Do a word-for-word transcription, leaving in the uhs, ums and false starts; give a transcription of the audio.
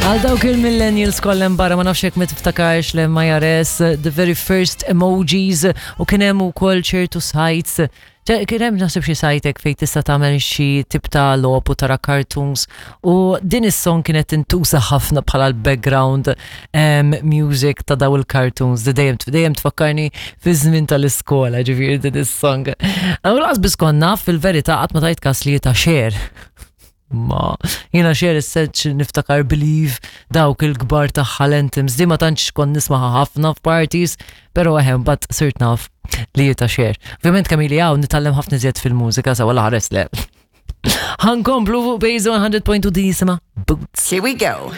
Għal dawk il-millennials kollem barra, ma nafx jekk ma tiftakarx l-M I R S, the very first emojis, u kien hemm ukoll ċertu sites. Ċe- Kien hemm naħseb xi site hekk fejn tista' tagħmel xi tip ta' logħob u tara cartoons, u din is-song kienet tintuża ħafna bħala l-background um, music ta' daw il-cartoons. Di dejjem dejjem tfakkarni fi żmien tal-iskola, ġifieri, din is-song. U lanqas biss konna fil-verità qatt ma tajt kas li ta' Cher. Ma jiena Cher is-seċ niftakar Believe, dawk il-kbar tagħha, l-anthems, di ma tantx kont nismaha ħafna f'parties, pero eħem, but sirt naf li ta' Cher. Ovvjament kemm ili hawn nitgħallem ħafna iżjed fil-mużika, sa wala ħares le. Ħa nkomplu fuq Base one hundred point two, di jisimha Boots. Here we go.